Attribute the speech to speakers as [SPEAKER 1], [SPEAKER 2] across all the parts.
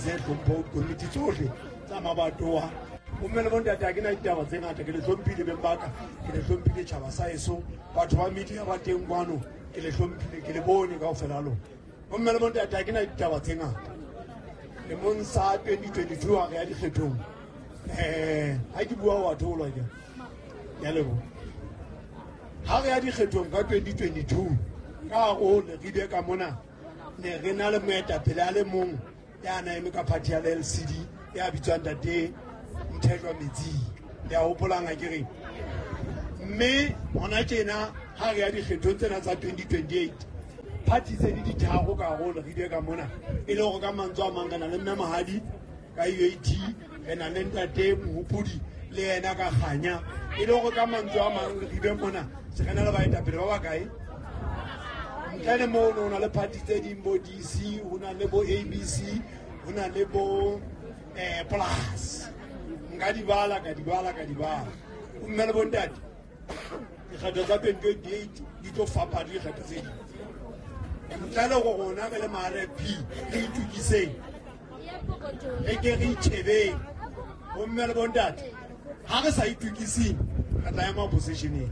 [SPEAKER 1] ise tlhompho dikomiti tsohle tsa mabatowa. Bomme le bontate, ha ke na ditaba tse ngata, ke le hlomphile beng ba ka, ke le hlomphile tjhaba sa heso, batho ba media ba teng kwano, ke le hlomphile, ke le bone kaofela ha lona. Bomme le bontate, ha ke na ditaba tse ngata. Lemong sa 2022 ha re ya dikgethong, ha ke bua wa theolwa ke ya leboha. Ha re ya dikgethong ka 2022, ka hare ho Leribe ka mona, ne re na le moetapele a le mong ya na eme ka party ya LCD ya bitswang Ntate Mthethwa Metsing. Le a hopolang ha ke reng? Mme hona tjena ha re ya dikgethong tsena tsa 2028, party tse di ditharo ka hare ho Leribe ka mona, e le hore ka mantswe a mang re na le Mme Mahadi ka UAT, re na le Ntate Mohopodi le yena ka Kganya, e le hore ka mantswe a mang Leribe mona se re na le baetapele ba bakae? Ntle le moo ho na le party tse ding, bo DC, ho na le bo ABC, ho na le bo Plus. Nka di bala, ka di bala, ka di bala. Bomme le bontate, dikgetho tsa 2028 di tlo fapana le dikgetho tse ding. Ntle le go rona re le ma-RFP re itukiseng, re ke re itjhebeng. Bomme le bontate, ha re sa itukiseng re tla ema oppositioneng.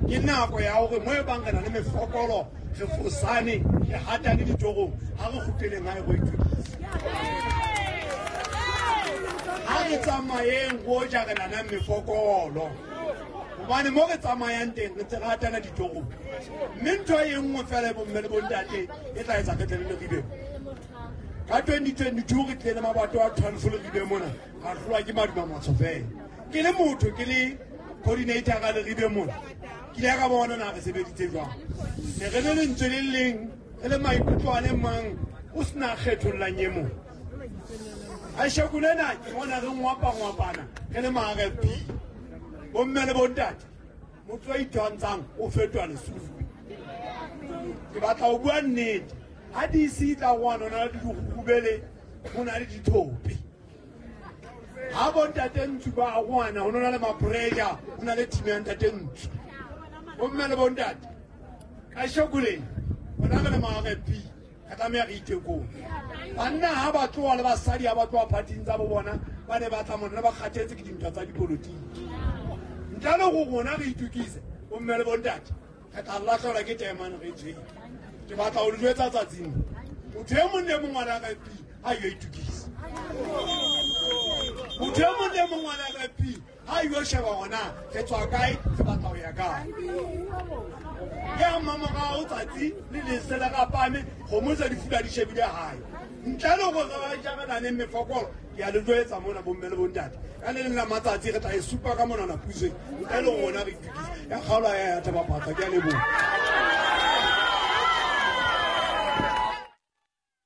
[SPEAKER 1] Ke nako ya hore mo e bang re na le mefokolo, re fosane, re hatane ditorong, ha re kgutleleng hae go itukisa. Ha re tsamayeng go ja re nanang mefokolo, hobane mo re tsamayang teng re ntse re hatana ditorong. Mme ntho e nngwe fela e bomme le bontate e tla etsa re tle le Leribe. Ka 2022 re tlile le mabato a 12 Leribe mona, ra hlolwa ke maduma matsho fela. Ke le motho, ke le coordinator ka Leribe mona, ke ile ka bona na re sebeditse jwang. Ne re le lentswe le leng, re le maikutlo a le mang, o sena kgethollang e mong. Kasheko lena ke bona re ngwapa-ngwapana re le ma-RFP. Bomme le bontate, motho a itwantshang o fetoha lesupi. Ke batla ho bua nnete. Ha DC e tla roana, ho na le dirurubele, ho na le dithope. Ha bontate Ntsu ba roana, ho na le ma-pressure, ho na le team ya Ntate Ntsu. Bomme le bontate, kasheko lena rona re le ma-RFP re tlameha re itekole. Banna ha ba tloha le basadi ha ba tloha phathing tsa bo bona, ba ne ba tla mona ba kgathetse ke dintwa tsa dipolotiki. Ntle le go rona re itukise, bomme le bontate, re tla lahlehelwa ke taemane re tshwere. Ke batla ho le jwetsa tsatsing, motho e mong le mong wa RFP ha yo itukisa. Motho e mong le mong wa RFP ha yo sheba hore re tswa kae, re batla ho ya kae. Ke ha mmamorao tsatsi le lese le rapame, kgomo tse di fula di shebile hae. Ntle le hore re ba jarananeng mefokolo, ke a le jwetsa mona bomme le bontate, ka le leng la matsatsi re tla e supa ka monana pusong. Ntle le rona re itukise. Ya kgaolo ya ya Thaba-Phatsa, ke a leboha.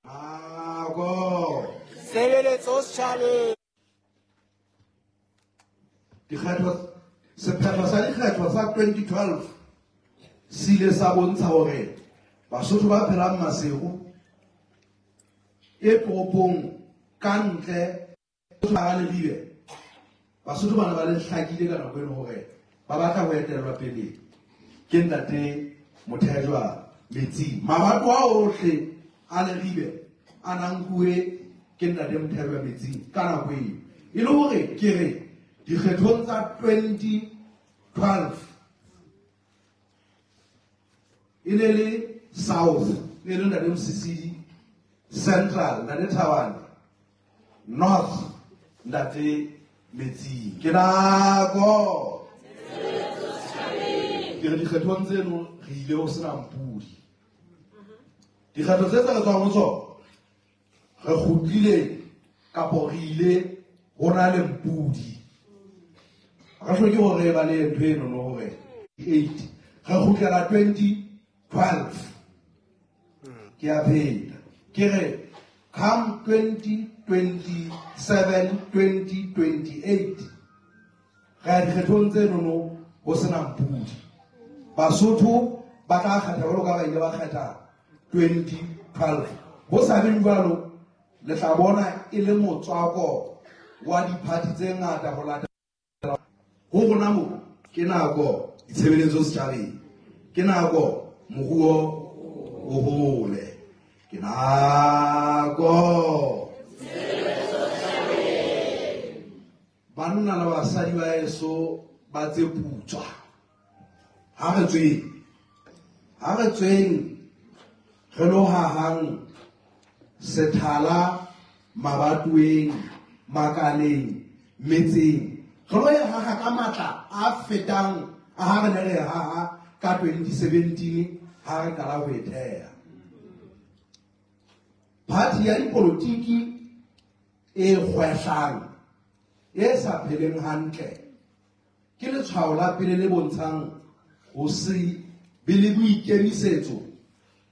[SPEAKER 2] Nako.
[SPEAKER 3] Tshebeletso setjhabeng.
[SPEAKER 2] Dikgetho, sephetho sa dikgetho sa 2012 se ile sa bontsha hore Basotho ba phelang Maseru e toropong ka ntle ba Leribe, Basotho ba ne ba le hlakile ka nako eno hore ba batla ho etellwa pele ke Ntate Mothejwa Metsing. Mabato a ohle a Leribe a nankuwe ke Ntate Mothejwa Metsing ka nako eo. E le hore ke re dikgethong tsa 2012 e ne le South, e le Ntate Mosisili, Central, Ntate Thabane, North, Ntate Metsing. Ke nako. Ke re dikgethong tseno re ile ho sena mpudi. Dikgetho tse tse re tswang ho tsona, re kgutlile kapo re ile ho na le mpudi. Re hloke hore re ba le ntho eno no hore 8 re kgutlela 2012. Ke a pheta. Ke re come 2027, 2028 re ya dikgethong tse nono ho sena mpudi. Basotho ba tla kgetha jwalo ka ba ile ba kgetha 2012. Ho sa beng jwalo, le tla bona e le motswako wa diphathi tse ngata ho latela ho rona mo. Ke nako ditshebeletso setjhabeng, ke nako moruo o hole, ke nako. Banna le basadi ba heso ba tse putswa. Ha re tsweng. Ha re tsweng re lo hahang sethala mabatoweng, makaleng, metseng. Re lo e haha ka matla a fetang a ha re ne re haha ka 2017 ha re qala ho e theha. Party ya dipolotiki e kgwehlang, e sa pheleng hantle, ke letshwao la pele le bontshang ho se be le boikemisetso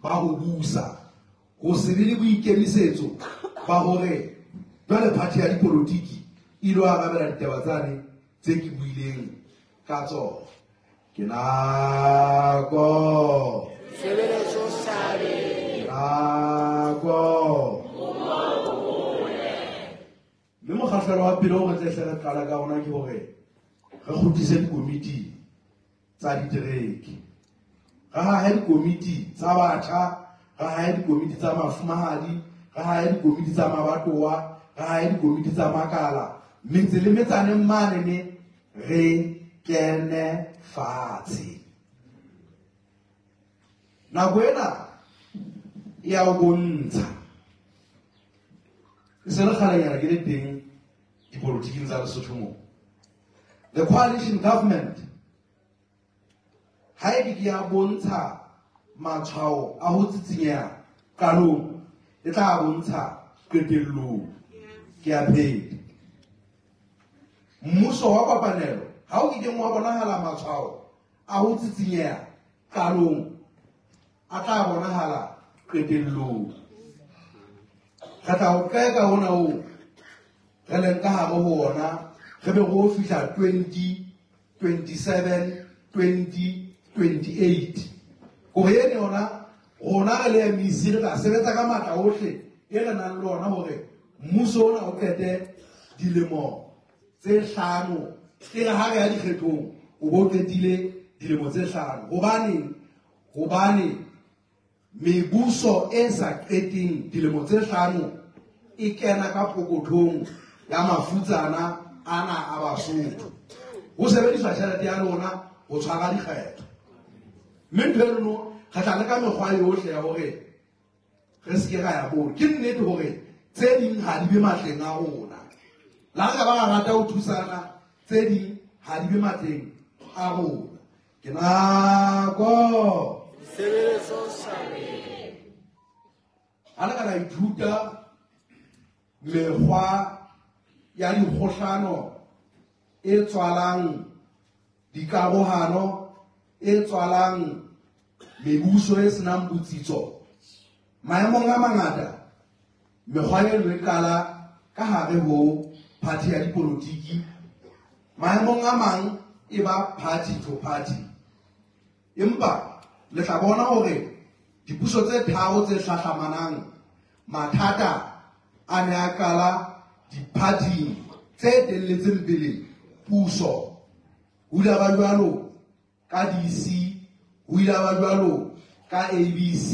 [SPEAKER 2] ba ho busa, ho se be le boikemisetso ba hore jwale party ya dipolotiki e lo arabela ditaba tsane tse ke buileng ka tsona. Ke nako.
[SPEAKER 3] Tshebeletso setjhabeng.
[SPEAKER 2] Nako. Mme mokgahlelo wa pele o re tle hle re qala ka ona ke hore re kgutlise dikomiti tsa ditereke. Re hahe dikomiti tsa batjha, re hahe dikomiti tsa mafumahadi, re hahe dikomiti tsa mabatowa, re hahe dikomiti tsa makala. Metse le metsaneng mane re kene fatshe. Nako ena e ya o bontsha. E se le kgalenyana ke le teng dipolotiking tsa Lesotho moo. The coalition government ha e ke ya bontsha matshwao a ho tsitsinyeha qalong, e tla bontsha qetellong. Ke a pheta. Mmuso wa kopanelo ha o kileng wa bonahala matshwao a ho tsitsinyeha qalong, a tla bonahala qetellong. Re tla o qeka hona oo re leng ka hare ho ona, re be re o fihla 2027, 2028. Hore ene yona rona re le MEC re tla sebetsa ka matla ohle e re nang le ona hore mmuso ona o qete dilemo tse hlano. E re ha re ya dikgethong o bo qetile dilemo tse hlano. Hobaneng? Hobane mebuso e sa qeteng dilemo tse hlano e kena ka pokothong ya mafutsana ana a Basotho. Ho sebediswa tjhelete ya lona ho tshwara dikgetho. Mme ntho eno re tla leka mekgwa yohle ya hore re se ke ra ya moo. Ke nnete hore tse ding ha di be matleng a rona. Le ha re ka ba ra rata ho thusana, tse ding ha di be matleng a rona. Ke nako.
[SPEAKER 3] Tshebeletso setjhabeng.
[SPEAKER 2] Ha le ka la ithuta mekgwa ya dikgohlano e tswalang dikarohano, e tswalang mebuso e senang botsitso, maemong a mangata mekgwa eno e qala ka hare ho party ya dipolotiki, maemong a mang e ba party to party. Empa le tla bona hore dipuso tse tharo tse hlahlamanang mathata a ne a qala di-party tse telletseng pele puso. Ho ile ba jwalo ka DC, ho ile ba jwalo ka ABC.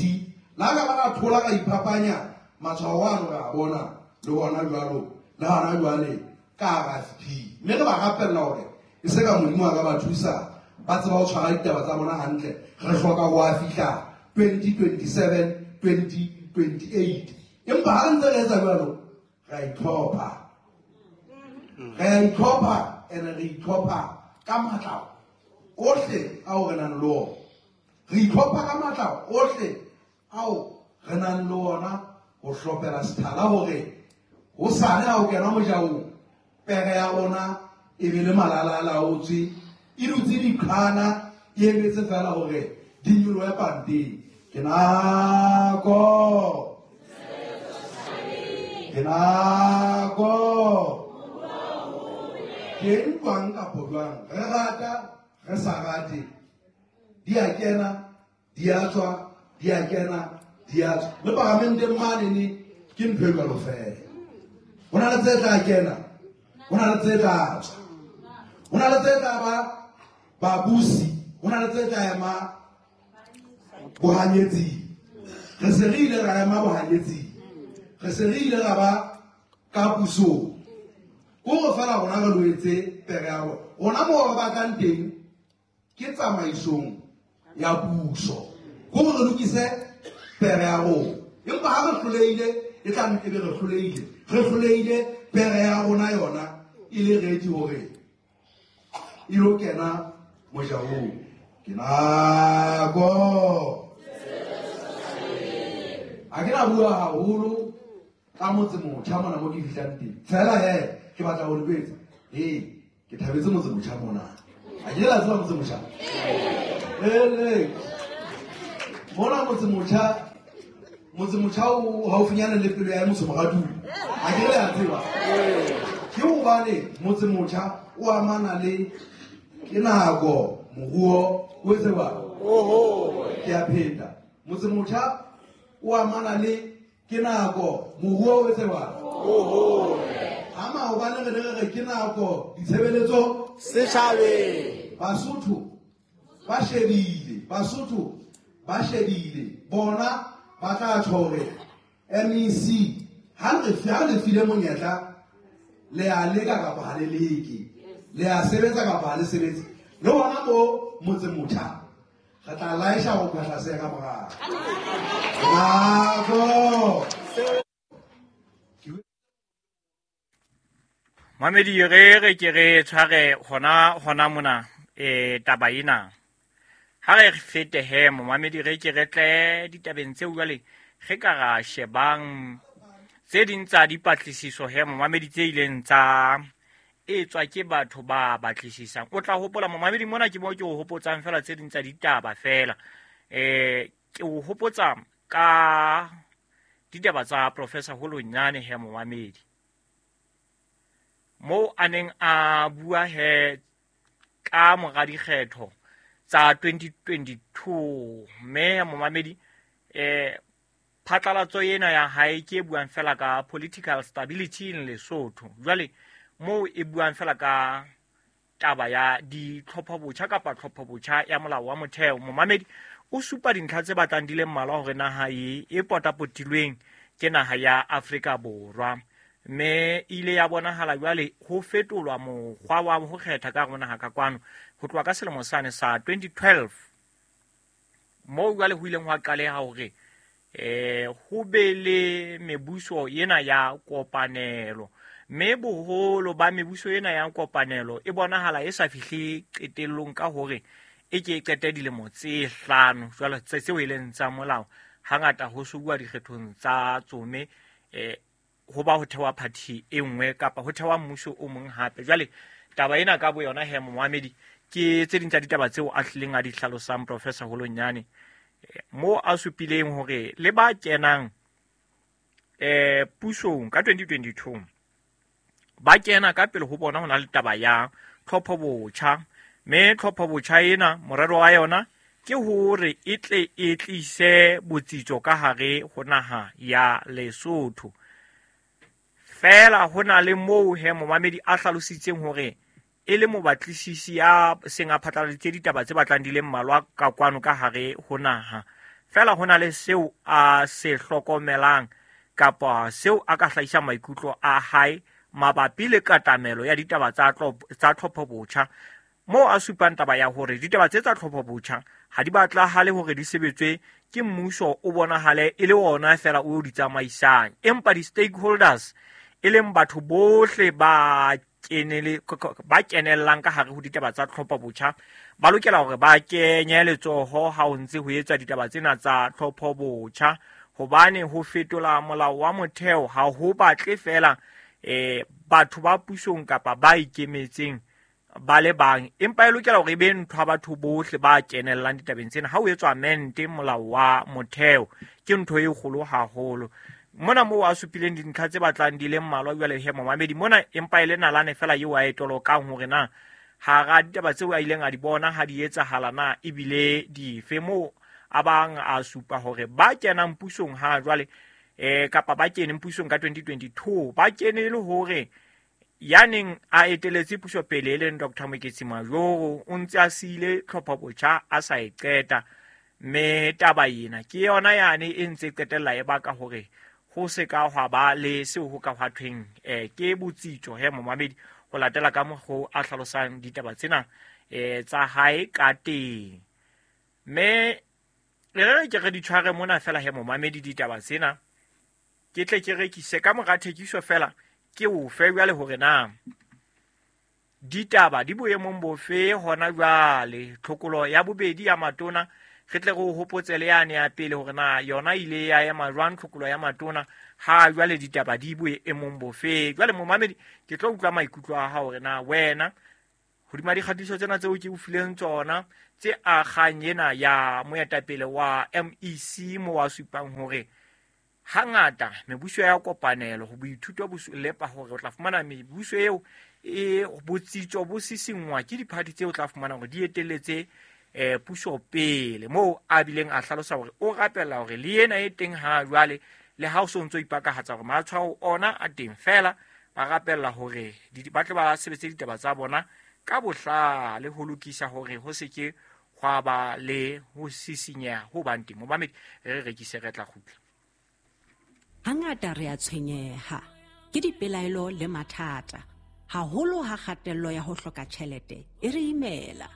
[SPEAKER 2] Le ha ka ba ra thola ka iphapanya matshwao ano re a bona le hona jwalo, le hona jwale ka RFP. Mme re ba rapella hore e se ka Modimo a ka ba thusa ba tseba ho tshwara ditaba tsa bona hantle. Re hloka ho a fihla 2027, 2028. Empa ha re ntse re etsa jwalo, re a itlhopha. Re a itlhopha ene re itlhopha ka matla ohle ao re nang le ona. Re itlhopha ka matla ohle ao re nang le ona ho hlophela sethala hore hosane ha o kena mojaong, pere ya rona e be le malala a laotswe, e dutse diqhana, e emetse fela hore di nyolohe panteng. Ke nako. Ke nako. Teng jwang kapo jwang, re rata re sa rate, di a kena di a tswa, di a kena di a tswa. Le paramenteng mane ke ntho e jwalo fela. Ho na le tse tla kena, ho na le tse tla tswa, ho na le tse tla ba babusi, ho na le tse tla ema bohanyetsing. Re se re ile ra ema bohanyetsing, re se re ile ra ba ka pusong. Ko fela rona re loetse pere ya rona mo re batlang teng ke tsamaisong ya puso. Ko re lokise pere ya rona. Empa ha re hlolehile e tla nne ebe re hlolehile. Re hlolehile pere ya rona yona e le ready hore e lo kena mojahong. Ke nako. Ha ke na bua haholo ka motse motjha mona mo ke fihlang teng. Fela he ke batla ho le jwetsa. Ke thabetse motse motjha mona. Ha ke la tseba motse motjha. Ele. Mona motse motjha, motse motjha o haufinyana le pelo ya motse moraduli. Ha ke le a tseba. Ke hobane motse motjha o amana le ke nako moruo o tseba.
[SPEAKER 3] Oho.
[SPEAKER 2] Ke a pheta. Motse motjha o amana le ke nako moruo o tseba.
[SPEAKER 3] Oho.
[SPEAKER 2] Ha maobane re ne re ke nako ditshebeletso
[SPEAKER 3] setjhabeng.
[SPEAKER 2] Basotho ba shebile, Basotho ba shebile. Bona ba tla tjho hore MEC ha re file monyetla le a leka kapa ha le leke. Le a sebetsa kapa ha le sebetse. Le hona mo motse motjha re tla laesha ho phahla se ka morao. Nako.
[SPEAKER 4] Mamedi re ke re tshware hona mona taba ena. Ha re fete he momamedi re ke re tle ditabeng tseo jwale re ka ra shebang tse ding tsa dipatlisiso he momamedi tse ileng tsa etswa ke batho ba batlisisang. O tla hopola momamedi mona ke mo ke o hopotsang fela tse ding tsa ditaba fela. Ke o hopotsa ka ditaba tsa Professor Holonyane he momamedi. Mo a neng a bua he ka mora dikgetho tsa 2022 mme momamedi phatlalatso ena ya hae ke e buang fela ka political stability in Lesotho. Jwale mo e buang fela ka taba ya ditlhopho botjha kapa tlhopho botjha ya molao wa motheo. Momamedi o supa dintlha tse batlang di le mmalwa hore naha e potapotilweng ke naha ya Afrika Borwa. Mme ile ya bonahala jwale ho fetolwa mokgwa wa ho kgetha ka hare naha ka kwano ho tloha ka selemo sane sa 2012 moo jwale ho ileng hwa qaleha hore ho be le mebuso ena ya kopanelo. Mme boholo ba mebuso ena ya kopanelo e bonahala e sa fihle qetellong ka hore e ke e qete dilemo tse hlano jwale tseo e leng tsa molao. Hangata ho subuwa dikgethong tsa tsome ho ba ho thewa party e nngwe kapa ho thewa mmuso o mong hape. Jwale taba ena ka boyona he momamedi ke tse ding tsa ditaba tseo a hlileng a di hlalosang Professor Holonyane mo a supileng hore le ba kenang pusong ka 2022 ba kena ka pele ho bona ho na le taba ya tlhopho botjha. Mme tlhopho botjha ena morero wa yona ke hore e tle e tlise botsitso ka hare ho naha ya Lesotho. Fela ho na le moo he momamedi a hlalositseng hore e le mobatlisisi ya seng a phatlaladitse ditaba tse batlang di le mmalwa ka kwano ka hare ho naha. Fela ho na le seo a se hlokomelang kapa seo a ka hlahisang maikutlo a hae mabapi le katamelo ya ditaba tsa tlhopho botjha. Moo a supang taba ya hore ditaba tse tsa tlhopho botjha ha di batlahale hore di sebetswe ke mmuso o bonahale e le ona fela o di tsamaisang, empa di-stakeholders e leng batho bohle ba kenellang ka hare ho ditaba tsa tlhopho botjha ba lokela hore ba kenye letsoho ha ho ntse ho etswa ditaba tsena tsa tlhopho botjha, hobane ho fetola molao wa motheo ha ho batle fela batho ba pusong kapa ba ikemetseng ba le bang, empa e lokela hore e be ntho ya batho bohle ba kenellang ditabeng tsena. Ha o etswa mente molao wa motheo ke ntho e kgolo haholo. Mona moo a supileng dintlha tse batlang di le mmalwa jwale he momamedi mona, empa e le nalane fela eo a e tolokang hore na hara ditaba tseo a ileng a di bona ha di etsahala na ebile dife. Moo a bang a supa hore ba kenang pusong ha jwale kapa ba keneng pusong ka 2022 ba kene le hore ya neng a eteletse puso pele e leng Dr. Moeketsi Majoro o ntse a siile tlhopho botjha a sa e qeta. Mme taba ena ke yona yane e ntse qetella e baka hore ho se ka hwa ba le seo ho ka hwa thweng ke botsitso he momamedi ho latela ka mokgo a hlalosang ditaba tsena tsa hae ka teng. Mme re ke re di tshware mona fela he momamedi ditaba tsena ke tle ke rekise ka mora thekiso fela ke o fe jwale hore na ditaba di boemong bofe hona jwale. Tlhokolo ya bobedi ya matona re tle re o hopotse le yane ya pele hore na yona ile ya ema jwang tlhokolo ya matona ha jwale ditaba di boemong bofe. Jwale momamedi ke tlo utlwa maikutlo a hao hore na wena hodima dikgatiso tsena tseo ke o fileng tsona tse akgang ena ya moetapele wa MEC mo wa supang hore hangata mebuso ya kopanelo ho boithuto bo lepa hore o tla fumana mebuso eo e botsitso bo sisingwa ke diphathi tseo o tla fumana hore di etelletse puso pele, moo a bileng a hlalosa hore o rapella hore le ena e teng ha jwale le ha o so ntso ipakahatsa hore matshwao ona a teng fela ba rapella hore ba tle ba sebetse ditaba tsa bona ka bohlale ho lokisa hore ho se ke hwa ba le ho sisinyeha ho bang teng. Momamedi re rekise re tla kgutla.
[SPEAKER 5] Hangata re a tshwenyeha ke dipelaelo le mathata, haholo ha kgatello ya ho hloka tjhelete e re imela.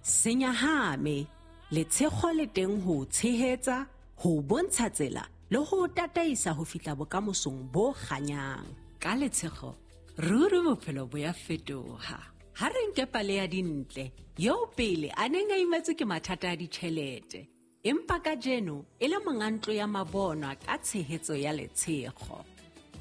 [SPEAKER 5] Senyahame letshego le teng ho tshehetsa, ho bontsha tsela le ho tataisa ho fihla bokamosong bo kganyang. Ka letshego ruri bophelo bo ya fetoha. Ha re nke pale ya Dintle eo pele a neng a imetswe ke mathata a ditjhelete, empa kajeno e le monga ntlo ya mabonwa ka tshehetso ya letshego.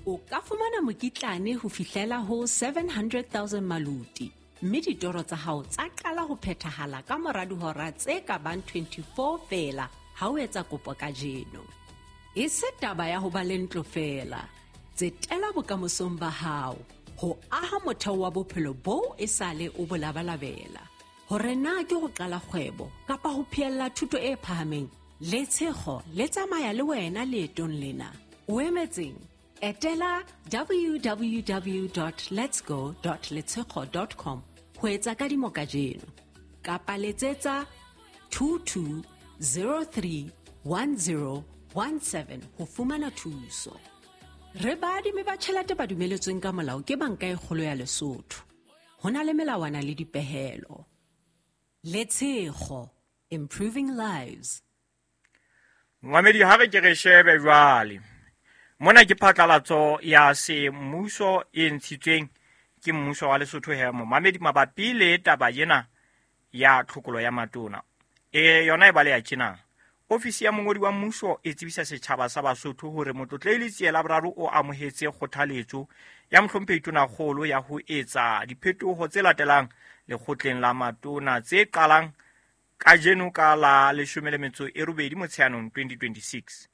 [SPEAKER 5] O ka fumana mokitlane ho fihlela ho 700,000 maluti, mme ditoro tsa hao tsa qala ho phethahala ka mora dihora tse ka bang 24 feela ha o etsa kopo kajeno. E se taba ya ho ba le ntlo feela, tsetela bokamosong ba hao ho aha motheo wa bophelo boo e sale o bo labalabela. Hore na ke ho qala kgwebo kapa ho phehella thuto e phahameng, letshego le tsamaya le wena leetong lena. O emetseng? Etela www.letsgo.letshego.com ho etsa kadimo kajeno kapa letsetsa 22031017 ho fumana thuso. Re baadimi ba tjhelete ba dumeletsweng ka molao ke Banka e Kgolo ya Lesotho. Ho na le melawana le dipehelo. Letshego, improving lives.
[SPEAKER 4] Momamedi ha re ke re shebe jwale mona ke phatlalatso ya semmuso e ntshitsweng ke mmuso wa Lesotho he momamedi mabapi le taba ena ya tlhokolo ya matona. Yona e baleha tjena. Ofisi ya mongodi wa mmuso e tsebisa setjhaba sa Basotho hore Motlotlehile Letsie la Boraro o amohetse kgothaletso ya mohlomphehi Tonakgolo ya ho etsa diphetoho tse latelang lekgotleng la matona tse qalang kajeno ka la 18 Motsheanong 2026.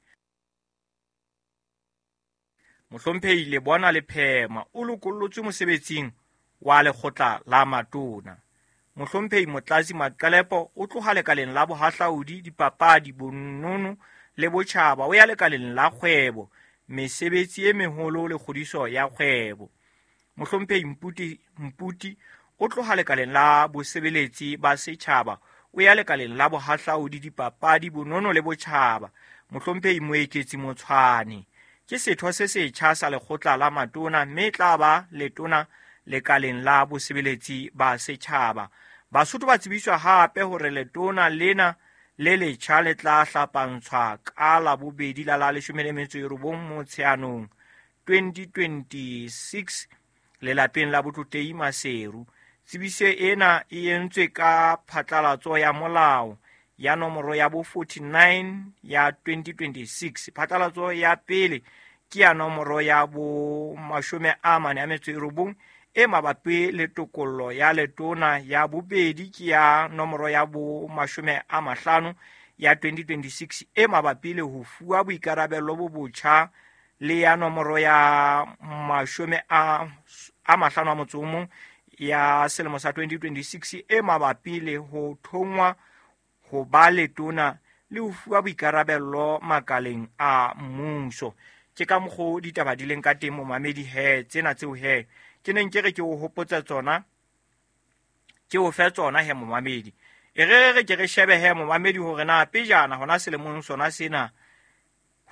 [SPEAKER 4] Mohlomphehi Lebona Lephema o lokollotswe mosebetsing wa lekgotla la matona. Mohlomphehi Motlatsi Maqelepo o tloha lekaleng la bohahlaudi, dipapadi, bonono le botjhaba o ya lekaleng la kgwebo, mesebetsi e meholo le kgodiso ya kgwebo. Mohlomphehi Mputi o tloha lekaleng la bosebeletsi ba setjhaba o ya lekaleng la bohahlaudi, dipapadi, bonono le botjhaba. Mohlomphehi Moeketsi Motshwane ke setho se setjha sa lekgotla la matona mme tla ba letona lekaleng la bosebeletsi ba setjhaba. Basotho ba tsebiswa hape hore letona lena le letjha le tla hlapantshwa ka Labobedi la la 19 Motsheanong 2026 lelapeng la Botlotlehi Maseru. Tsebiso ena e entswe ka phatlalatso ya molao ya nomoro ya bo 49 ya 2026. Phatlalatso ya pele ke ya nomoro ya bo 49 e mabapi le tokollo ya letona, ya bobedi ke ya nomoro ya bo 50 ya 2026 e mabapi le ho fuwa boikarabelo bo botjha, le ya nomoro ya 51 ya selemo sa 2026 e mabapi le ho thongwa ho ba letona le ho fuwa boikarabelo makaleng a mmuso. Ke ka mokgo ditaba di leng ka teng momamedi he tsena tseo he ke neng ke re ke o hopotsa tsona, ke o fe tsona he momamedi. E re re ke re shebe he momamedi hore na pejana hona selemong sona sena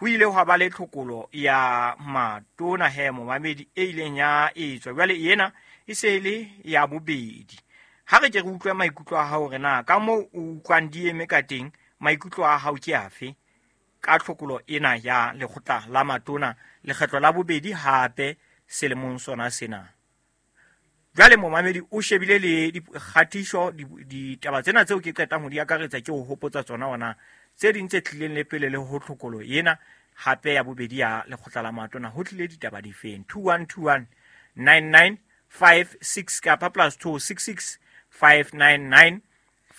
[SPEAKER 4] Ho ile hwa ba le tlhokolo ya matona he momamedi e ileng ya etswa. Jwale ena e se e le ya bobedi. Ha re ke re utlwe maikutlo a hao hore na ka moo o utlwang di eme ka teng, maikutlo a hao ke afe ka tlhokolo ena ya lekgotla la matona lekgetlo la bobedi hape selemong sona sena. Jwale momamedi o shebile le dikgatiso, ditaba tsena tseo ke qetang ho di akaretsa ke ho hopotsa tsona ona tse ding tse tlileng le pele le ho tlhokolo ena hape ya bobedi ya lekgotla la matona. Ho tlile ditaba difeng? 2121 9956 kapa +266 599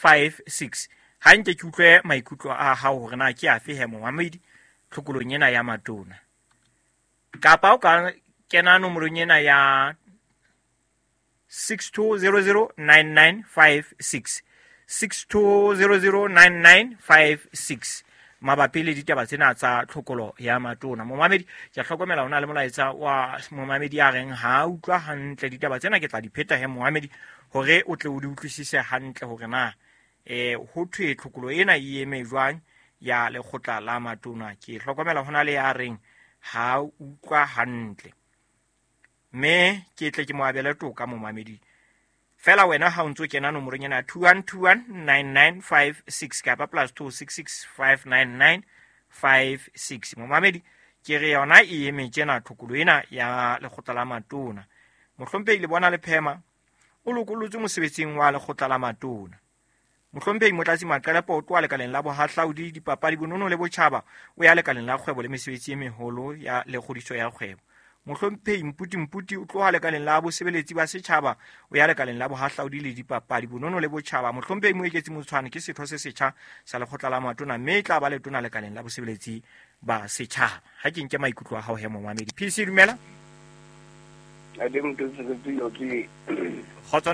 [SPEAKER 4] 56. Ha nke ke utlwe maikutlo a hao hore na ke afe he momamedi tlhokolong ena ya matona. Kapa o ka kena nomorong ena ya 62009956, 62009956 mabapi le ditaba tsena tsa tlhokolo ya matona. Momamedi, ke a hlokomela ho na le molaetsa wa momamedi a reng ha utlwa hantle ditaba tsena, ke tla di pheta he momamedi hore o tle o di utlwisise hantle hore na ho thwe tlhokolo ena e eme jwang ya lekgotla la matona. Ke hlokomela ho na le ya reng ha utlwa hantle, mme ke tle ke mo abele toka momamedi. Fela wena ha o ntso kena nomorong ena ya 21219956 kapa +266 59956. Momamedi, ke re yona e eme tjena tlhokolo ena ya lekgotla la matona. Mohlomphehi Lebona Lephema o lokolotswe mosebetsing wa lekgotla la matona. Mohlomphehi Motlatsi Maqelepo o tloha lekaleng la bohahlaudi, dipapadi, bonono le botjhaba, o ya lekaleng la kgwebo le mesebetsi e meholo ya le kgodiso ya kgwebo. Mohlomphehi Mputi Mputi o tloha lekaleng la bosebeletsi ba setjhaba, o ya lekaleng la bohahlaudi le dipapadi, bonono le botjhaba. Mohlomphehi Moeketsi Motshwane ke setho se setjha sa lekgotla la matona, mme e tla ba letona lekaleng la bosebeletsi ba setjhaba. Ha ke nke maikutlo a hao he momamedi. PC, dumela. Kgotso.